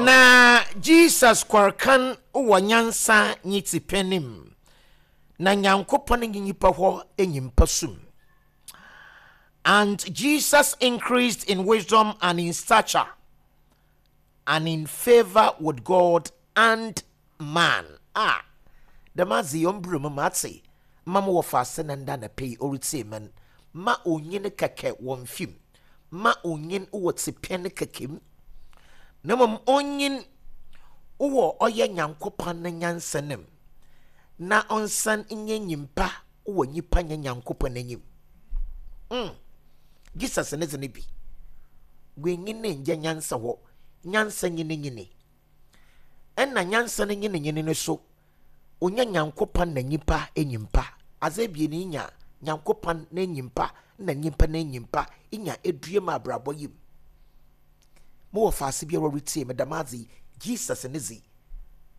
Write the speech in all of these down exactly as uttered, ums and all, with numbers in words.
Na Jesus kɔrkan wɔ nyansa nye tsipanim na Nyankopɔn nye nyimpa hɔ enyimpa sum. And Jesus increased in wisdom and in stature and in favor with God and man. Ah, dɛm adze yi ɔmbrɛ mu matse ma mo wɔfa ase na nda na pɛyi ɔretsie men ma onyin kɛkɛ wɔ mfim, ma onyin wɔ tsipɛn kɛkɛ mu, na mmom onyin wɔ ɔyɛ Nyankopɔn ne nyansa nim na ɔnsan nyɛ nyimpa wɔ nyimpa nyɛ Nyankopɔn anim mm. Jesus ne dze ne bi wenyin ne ngya nyansa hɔ, nyansa nyini nyini, ɛna nyansa no nyini nyini no so onya Nyankopɔn na nyimpa enyimpa adze ebien nya Nyankopɔn na nyimpa na nyimpa na nyimpa nya edua mu abrabɔ yi mu. Mowɔ faase biara retie me dɛm adze yi, Jesus ne dze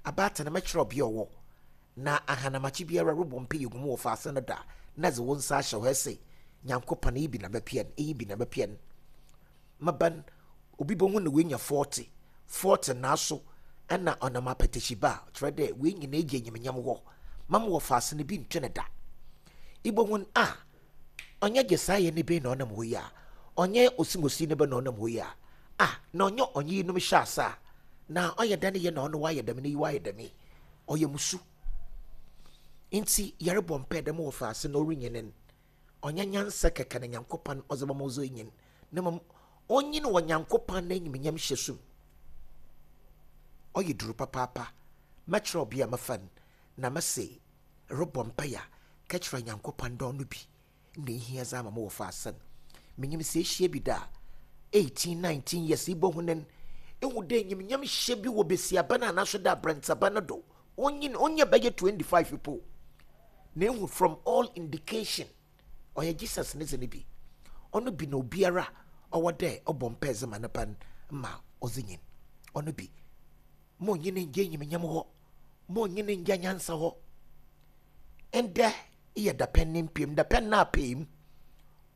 abaatan mɛkyerɛ ɔbea ɔwɔ na ahanamakye biara robɔ mpa yɛ gu mu wɔ faase no da na dze wo nsa ahyɛ hɔ ɛsɛ Nyankopɔn eyi bi na bɛpɛ no, eyi bi na bɛpɛ no. Maban obi bɛhu na wenya forty forty naaso ɛna ɔnam apɛtɛhyi ba a kyerɛ dɛ wei nyinaa gye enyimnyam hɔ mam wɔ faase no bi ntwe ne da ibohu a ɔnyɛ gye saa yɛ ne bi na ɔnam hɔ yi a ɔnyɛ osimosi ne bɛ na ɔnam hɔ yi a a na ɔnyɛ ɔnye yinom hyɛ ase a na ɔyɛ dɛ ne yɛ na ɔno wayɛ dɛm ne yi wayɛ dɛm yi ɔyɛ musu. Nti yɛrebɔ mpɛ dɛm wɔ faase na ɔrenyini no, ɔnyɛ nyansa kɛkɛ na Nyankopɔn ɔdze bɛma ɔdze nyin, na mmom ɔnyin wɔ Nyankopɔn n'enyimnyam hyɛ sum. Ɔyɛ duru papaapa. Mɛkyerɛ ɔbea a mɛfa no na mɛse rebɔ mpaeɛ a kɛkyerɛ Nyankopɔn dɛ ɔno bi na ehia dze ama mo wɔ faase no. Menyim sɛ ehyia bi da eighteen nineteen years ibɔ ho nen ehu dɛ enyimnyam hyɛ bi wɔ besiaba no anaso dɛ abrɛntsaba no do onyin onyɛ bɛyɛ twenty-five po na ehu from all indication ɔyɛ Jesus ne dze no bi. Ɔno bi na obiara ɔwɔ dɛ ɔbɔ mpae dze ma ne ba no ma ɔdze nyin. Ɔno bi ma onyin ngye enyimnyam hɔ, ma onyin ngye nyansa hɔ. Ndɛ yɛ dapɛn ne mpiem dapɛn na apɛm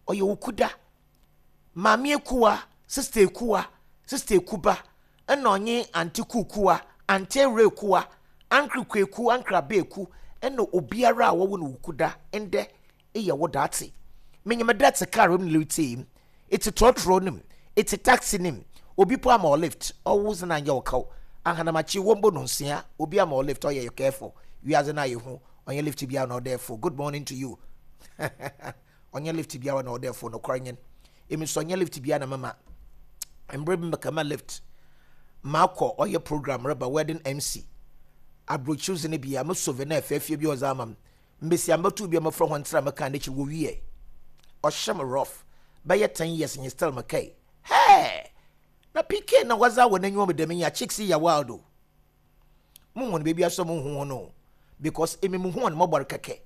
ɔyɛ okuda maame Ekuwa, Sister Ekuwa, Sister Ekuba, ɛna ɔnye Auntie Kukuwa, Auntie Ewura Ekuwa, Uncle Kweku, Uncle Abeeku, ɛna obiara a wɔwɔ no okuda. Ndɛ eyɛ wo daate menyim dɛ te car mu ne mu ete trɔtrɔ no mu ete taxi no mu obi po ama ɔ lift ɔwo dze na nyɛ wo kaw ahanamakye wɔmbɔ no nsia obi ama ɔ lift ɔyɛ careful wiadze no ayɛ hu. Ɔnyɛ lift biara na ɔdɛ. Good morning to you. Ɔnyɛ lift biara na ɔdɛ fo nokwar nyɛn emi nso ɔnyɛ lift biara na mama mmerɛ bi mɛka lift maakɔ ɔyɛ program reba wedding M C aburokyiriw dze no bi a mo souvenir fɛɛfɛɛ bi ɔdze ama m mbesia mbɛto bi a mɛfrɛ hɔn ntira mɛka n'ekyir wɔ wie ɔhyɛ me rough bɛyɛ ten years nye still mɛkae hɛɛ na P K na wɔdze awɔ n'enyiwa mu dɛm yi a chicks yi yɛ wild o. Mo hu no beebi asɔ mo hu wɔn o because emi mo hu wɔn mɔbɔre kɛkɛ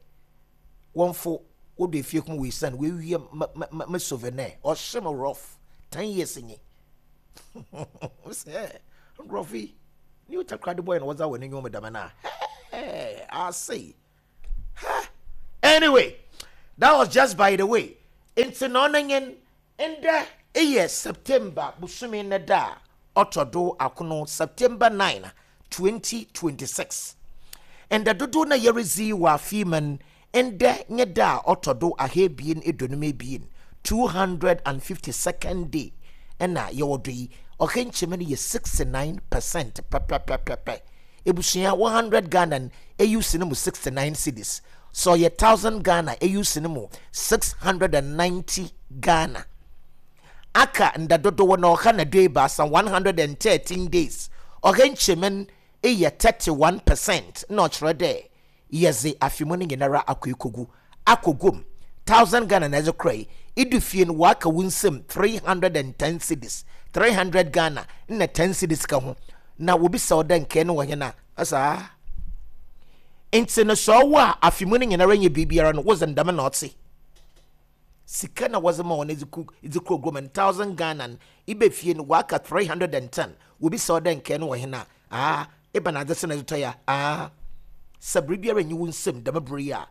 wɔnfo wɔdo efie kum wɔ esan wɔawie ma ma ma souvenir ɔhyɛ me rough ten years nye sɛ nkurɔfo yi new Takoradi boy na wɔdze awɔ n'enyiwa mu dɛm na hɛɛ ase. Anyway, that was just by the way. Nti na ɔno nye ndɛ eyɛ September bosome ne da a ɔtɔ do akono, September nine twenty twenty-six. Ndɛ dodow na yɛredzi wɔ afe mu no, ndɛ nye da a ɔtɔ do ahaebien eduonum ebien, two hundred and fifty-second day ɛna yɛwɔ do yi. Ɔka nkyɛn no yɛ sixty-nine percent pɛpɛpɛpɛpɛ. Ebusua, one hundred Ghana no eyi si no mu sixty-nine cedis so ɔyɛ one thousand Ghana eyi si no mu six hundred and ninety Ghana. Aka nda dodoɔ na ɔka na do ebaasa, one hundred and thirteen days. Ɔka nkyɛn no yɛ thirty-one percent na ɔkyerɛ dɛ yɛdze afe mu no nyinara akɔ ekogu akɔ gom. Thousand Ghana na ɛdze kora yi idu fie no waka wo nsam three hundred and ten cedis, three hundred Ghana na ten cedis ka ho na wobisa wo dɛ nkɛɛ no wɔ hɛn a asa. Nti no sɛ ɔwɔ a afe mu no nyinara nyɛ biribiara no wodze ndɛm na ɔte sika na wɔdze ma wɔn edze ku edze kuro guom no thousand Ghana no ibe fie no waka three hundred and ten, wobisa wo dɛ nkɛɛ no wɔ hɛn a aa eba na adze sɛ na ɛdze tɔ ya aa sɛ biribiara nyi wo nsam dɛm bere yi a.